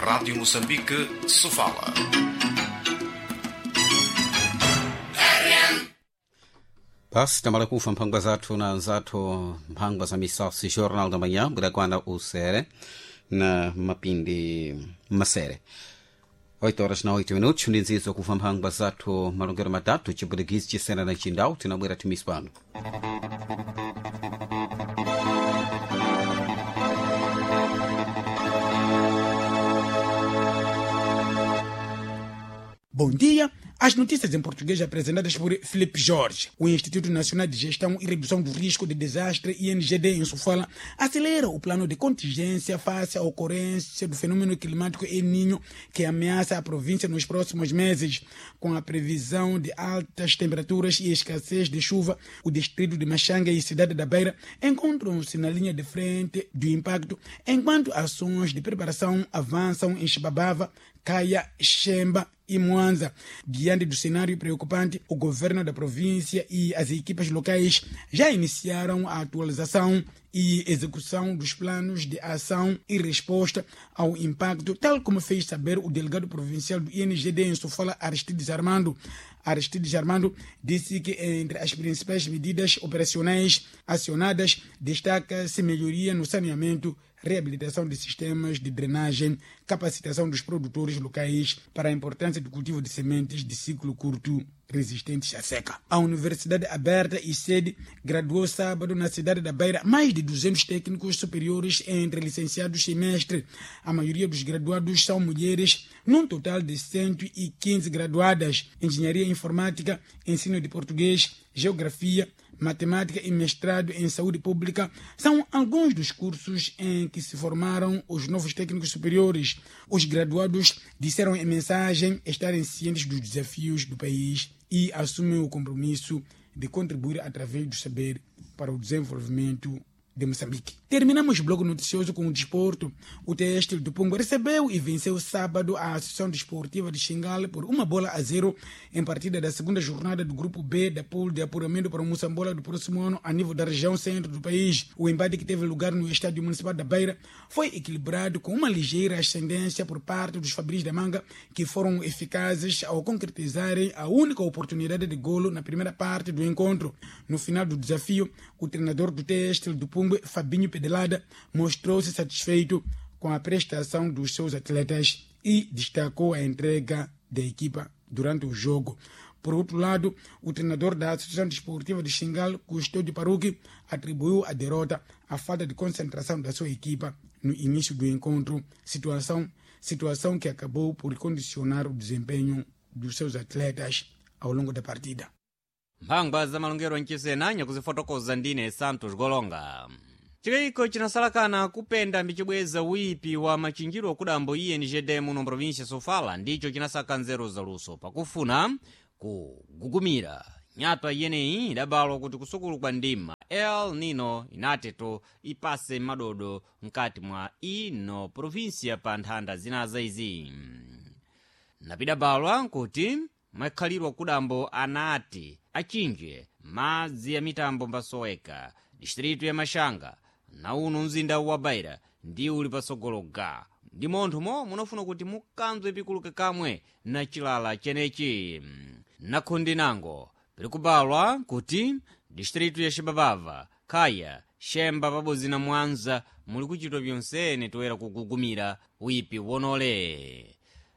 Rádio Moçambique, Sofala. Basi tamala kufa mphangwa zathu na zathu mphangwa za misasi Jornal da Manhã budakwana usere na mapindi masere 8 horas na 8 minutos ndinzizo kufa mphangwa zathu malongero matatu chipwitikizi chisena na chindau tinabwera timisi pano. Bom dia. As notícias em português apresentadas por Felipe Jorge. O Instituto Nacional de Gestão e Redução do Risco de Desastre, INGD, em Sofala, acelera o plano de contingência face à ocorrência do fenômeno climático El Niño que ameaça a província nos próximos meses. Com a previsão de altas temperaturas e escassez de chuva, o distrito de Machanga e cidade da Beira encontram-se na linha de frente do impacto, enquanto ações de preparação avançam em Chibabava, Caia, Xemba e Mwanza. Diante do cenário preocupante, o governo da província e as equipas locais já iniciaram a atualização e execução dos planos de ação e resposta ao impacto, tal como fez saber o delegado provincial do INGD em Sofala, Aristides Armando. Aristides Armando disse que entre as principais medidas operacionais acionadas destaca-se melhoria no saneamento, reabilitação de sistemas de drenagem, capacitação dos produtores locais para a importância do cultivo de sementes de ciclo curto resistentes à seca. A Universidade Aberta e sede graduou sábado na cidade da Beira mais de 200 técnicos superiores entre licenciados e mestre. A maioria dos graduados são mulheres, num total de 115 graduadas. Engenharia informática, ensino de português, geografia, matemática e mestrado em saúde pública são alguns dos cursos em que se formaram os novos técnicos superiores. Os graduados disseram em mensagem estarem cientes dos desafios do país e assumem o compromisso de contribuir através do saber para o desenvolvimento de Moçambique. Terminamos o bloco noticioso com o desporto. O Têxtil do Pungo recebeu e venceu sábado a Associação Desportiva de Xingale por 1-0 em partida da segunda jornada do Grupo B da pool de apuramento para o Moçambola do próximo ano a nível da região centro do país. O embate que teve lugar no Estádio Municipal da Beira foi equilibrado com uma ligeira ascendência por parte dos Fabris da Manga, que foram eficazes ao concretizarem a única oportunidade de golo na primeira parte do encontro. No final do desafio, o treinador do Têxtil do Pungo, Fabinho Pedelada, mostrou-se satisfeito com a prestação dos seus atletas e destacou a entrega da equipa durante o jogo. Por outro lado, o treinador da Associação Desportiva de Xingal, Custódio Paruque, atribuiu a derrota à falta de concentração da sua equipa no início do encontro, situação que acabou por condicionar o desempenho dos seus atletas ao longo da partida. Mphangwa za malongero mchisena nyakuzifotokoza ndine Santos Golonga. Chikayiko chinasalakana kupenda mbichibweza uyipi wa machinjiro akudambo INGD muno província Sofala ndicho chinasaka nzeru zaluso pakufuna kugugumira nyatwa iyeneyi idabalwa kuti kusukulu kwa ndima El Nino inateto ipase madodo mkati mwa ino província pa nthanda zinaza izi. Napidabalwa nkuti mwakhalirwa kudambo anati achinje madzi ya mitambo mbasoweka distritu ya Mashanga na uno mzinda wa Beira ndi uli pasogolo ga ndi monthumo munafuna kuti mukanzwe pikuluke kamwe na chilala chenechi. Nakhundi nango pili kubalwa kuti distritu ya Xibabava, Khaya, Xemba pabodzi na Mwanza muli kuchitwa byonsene toyera kugugumira uyipi wonole.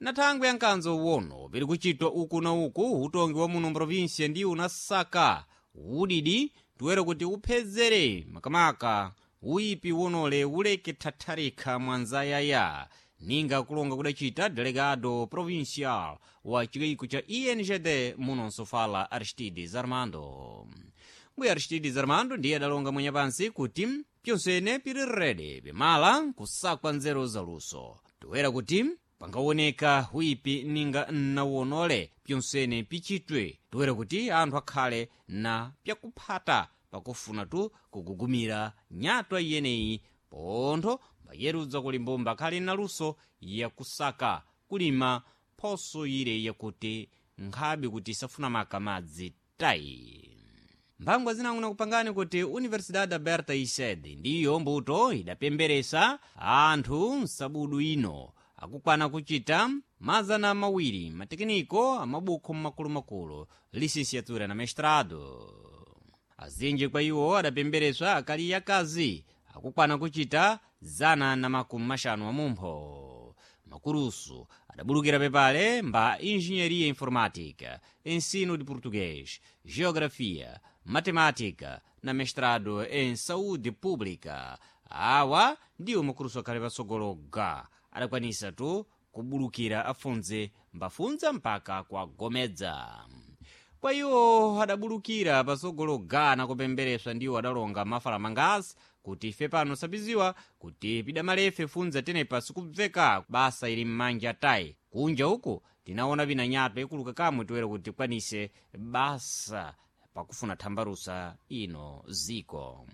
Na thangwi ya nkanzo uwono pili kuchitwa uku na uku utongi wa muno mprovinsia ndi unasaka udidi toyera kuti uphezere makamaka uyipi wonole uleke thatharikha mwanzayaya ninga kulonga kudacita delegado provincial wa chikayiko cha INGD muno Nsofala, Aristides Armando. Mbuya Aristides Armando ndiye adalonga mwenye pansi kuti pyonsene pili rede pimala kusakwa nzeru zaluso toyera kuti pangaoneka huipi ninga nnawonole pyonsene pichitwe toyera kuti anthu akhale na pyakuphata pakufuna tu kugugumira nyatwa iyeneyi pontho mbayerudza kuli mbumba akhale na luso yakusaka kulima phoso ire yakuti nkhabe kuti isafuna maka madzi tayi. Mphangwa zinang'una kupangani kuti Universidade Aberta Ised ndiyo mbuto idapemberesa anthu msabudu ino. akukwana kuchita 200 matekiniko amabukho mmakulumakulu lisinsiatura na mestrado. Azinji kwa iwo adapembereswa akali akazi akukwana kuchita 150 amumpho. Makurusu adabulukira pepale mba engenharia informática, ensino de português, geografia, matemática na mestrado em saúde pública. Awa ndiwo makurusu akhale patsogolo ga adakwanisa tu kubulukira afunze mbafunza mpaka kwagomedza. Kwa iwo adabulukira patsogolo gana kupembereswa ndiwo adalonga mafalamangazi kuti ife pano sapiziwa kuti pidamalefe funza tenepa sikubveka basa ili m'manja tayi. Kunja uku tinaona vinanyato ikuluka kamwe toera kuti tikwanise basa pakufuna thambalusa ino ziko.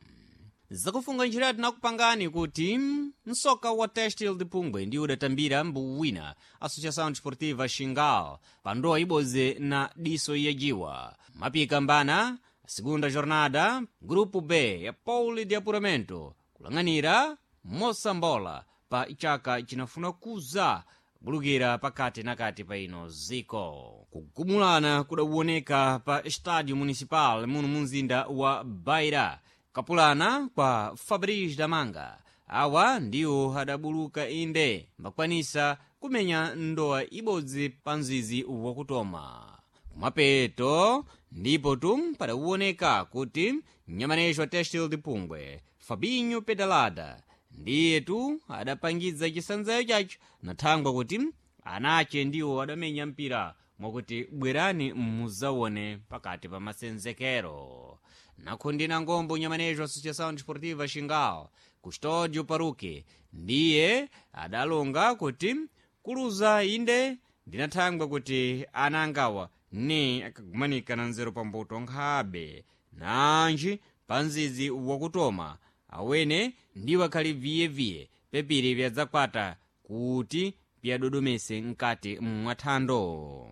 Zakufunga njira tinakupangani kuti msoka wa Testil de Pungwe ndiwo udatambira mbuwina Associação Desportiva Xingal pa ndowa ibodzi na diso yajiwa. Mapika mbana segunda jornada grupo B ya Pauli de Apuramento kulang'anira Mosambola pa chaka chinafuna kuza bulukira pakati na kati pa ino ziko. Kugumulana kudawoneka pa Estádio Municipal muno mu mzinda wa Beira kapulana kwa Fabrice Damanga. Awa ndiwo adabuluka inde mbakwanisa kumenya ndowa ibodzi pa mzizi wakutoma. Kumapeto ndipo tu padawoneka kuti mnyamanejo wa Testil de Pungwe Fabinho Pedalada ndiye tu adapangidza chisanzayo chacho na thangwa kuti anache ndiwo adamenya mpira mwakuti bwerani muzawone pakati pa masenzekero. Nakhundina ngombo nyamanejo Associação Desportiva Xingal Custódio Paruque ndiye adalonga kuti kuluza inde ndinathangwa kuti anangawa ni akagumanika na nzeru pambuto nkhabe nanji pa mzizi wakutoma awene ndiwo akhali viyeviye pepiri vyadzakwata kuti pyadodomese mkati mwathando.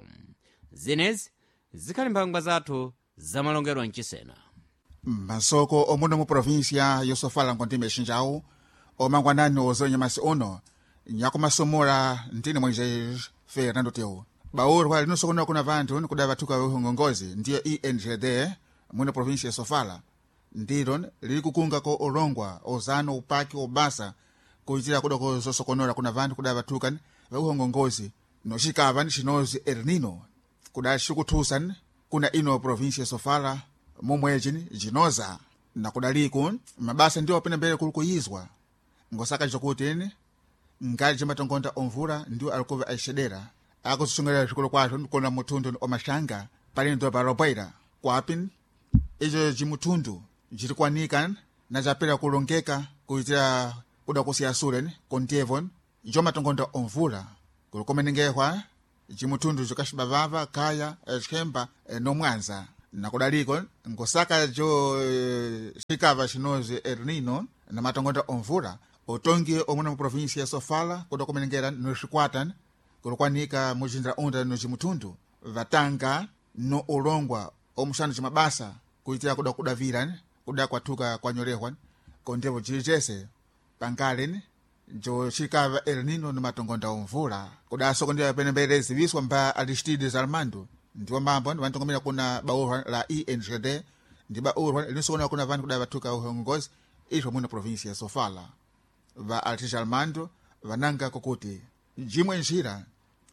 Zenezi zikhali mphangwa zathu zamalongedwa mchisena. Masoko omuno mu província yosofala nkontime xinjawu omangwanani ozonyamasi uno nyakumasomora ntini Moisés Fernando Teu. Baurwa linosokonera kuna vanthu nikuda vathuka uhongongozi ndiyo INGD muno província yosofala ndilo lili kukungako ulongwa ozano upaki obasa kuitira kudoko zosokonora kuna vanthu kuda vathuka vauhongongozi nocikava ni cinozi El Nino kuda cikuthusa kuna ino província yosofala momweji jinoza nakudaliku mabasa ndiwo apena mbele kuli kuyizwa ngosaka jokuti ngali jimatongonda omvula ndiwo alikuva aixedera akuzisungira zvikolo kwazvo nkona muthundu omaxanga pali ndo palobwaira kwapi icho jimuthundu jilikwanika na japela kulongeka kuitira kuda kusiya sule kontievo jomatongonda omvula kulikomenengehwa jimuthundu jikaxibavava kaya xemba nomwanza nakudaliko ngosaka jo xikava xinozi El Nino na matongonda omvula utongi omwe mu província ya Sofala kuda kumenengera noxikwata kulikwanika mujindra unda nocimuthundu vatanga no ulongwa omuxano cimabasa kuitira kuda kudavira kuda kwathuka kwanyolehwa kondevo cilicese pangale jo xikava El Nino no matongonda omvula kuda soko ndiyo penembere ziviswa mba Aristides Armando ndiwo mambo vantongamira kuna baurwa la INGD ndi baurwa linosokona kuna vanhu kuda vathuka uhongozi izvo muno província ya Sofala. Va Artis Armando vananga kokuti jimwe njira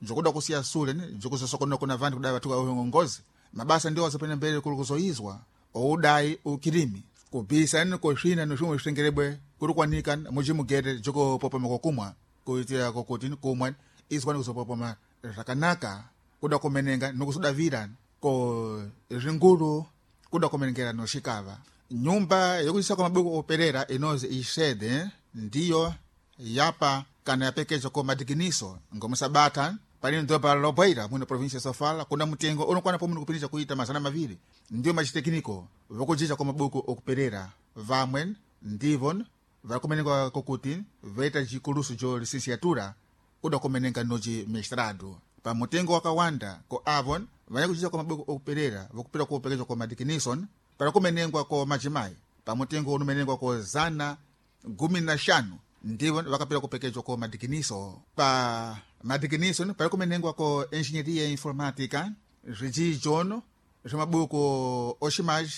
jokuda kusiya sule jokuzosokonera kuna vanhu kuda vathuka uhongozi mabasa ndiwo azopenya mbele kuli kuzoyizwa oudayi ukilimi kubisa ni koxina ni swimwe switengerebwe kuli kwanika mujimugere jokopopoma kokumwa kuitira kokuti kumwa izwani kuzopopoma zvakanaka kuda kumenenga nokusudavira ko zvingulu kuda kumenengera noxikava. Nyumba yokuchisa kwa mabuku operera inozi ixede ndiyo yapa kana yapekeja ko madikiniso ngomusabata pali ndo pa Lobweira muno província ya Sofala kuna mutengo unokwana pomwe kupindisha kuita 200 ndiyo machitekniko vokujicha kwa mabuku okuperera vamwe ndivo vakumenengwa kokuti vaita jikulusu jo licenciatura kuda kumenenga noji mestrado pa mutengo wakawanda ko avon vanyakuchicha kwa mabuku okuperera vokupira kupekezwa kwa madikinison para kumenengwa ko majimai pa mutengo unomenengwa ko 115. Ndivo vakapera kupekejwa ko madikiniso. Pa madikiniso pali kumenengwa ko engenharia informática, zvidzidzo zva mabuku oximaji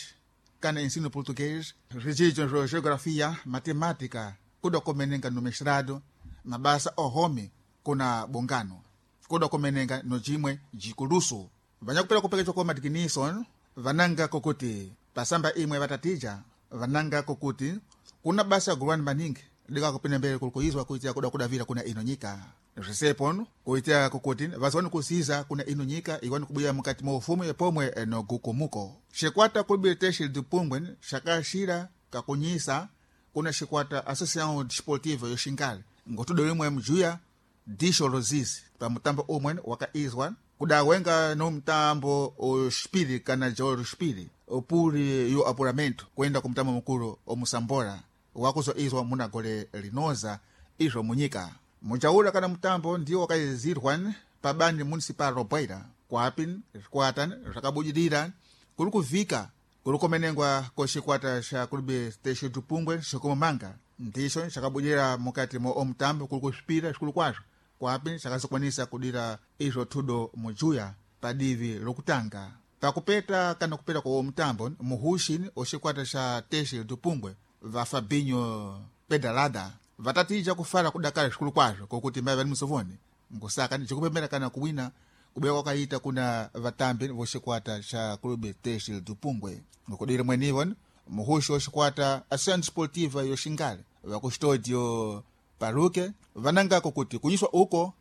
kana ensino português, zvidzidzo zva geografia, matemática, kuda kumenenga no mestrado, mabasa ohome kuna bongano, kuda kumenenga no jimwe jikulusu. Vanyakupera kupekejwa ko madikiniso vananga kokuti pasamba imwe vatatija, vananga kokuti kuna basa gulwani maningi likakupinda mbele kulikuizwa kuitia kuda kudavira kuna ino nyika. Zvisepono kuitia kukuti vaziwani kusiza kuna ino nyika iwani kubuya mukati mwa ufumu pomwe no gukumuko. Xikwata kulibile texi dipungwe xakaxira kakunyisa kuna xikwata Associação Desportiva Yoxingale ngotudo limwe mjuya dixo lozizi pa mutambo umwe wakaizwa kudawenga no mutambo oxipiri kana jolo xipiri opuli yo apuramento kuenda ku mutambo mukulu omusambora wakuzoizwa muna gole linoza izvo munyika. Mujaula kana mutambo ndiwo wakaizirwa pa bani municipal Robeira kwapi zvikwata zvakabudilira kuri kuvhika kuri kumenengwa ko xikwata xa Clube Teixeira do Pungwe xikumamanga ndixo xakabudilira mukati mo omutambo kuri kusvipira zvikuru kwazvo kwapi xakazokwanisa kudira izvo thudo mujuya pa divi lokutanga. Pakupeta kana kupeta kwa mutambo muhuxi oxikwata xa Teixeira do Pungwe va Fabinho Pedalada vatatija kufara kudakara zvikuru kwazvo kokuti mai vali musovoni ngosaka jikupemera kana kuwina kubewa kwakaita kuna vatambi voxikwata xa Clube Teixeira do Pungwe. Ngokudira mwenivo muhuxi woxikwata Associação Desportiva Yoxingale vakustodio Paruke vanangako kuti kunyiswa uko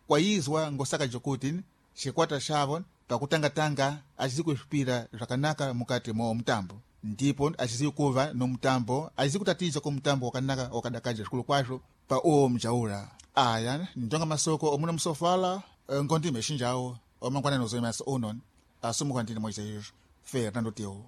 kwaizwa ngosaka jokuti xikwata xavo pakutangatanga acizi kusvipira zvakanaka mukati mo mutambo, ndipo acizi kuva no mutambo acizi kutatija ko mutambo wakanaka wakadakaja zvikulu kwazvo pa uwo mjaula. Aya ndonga masoko omuna musofala ngondime xinjawo omangwanani ozoimasa uno asumuka ndine Moisés Fernando Teu.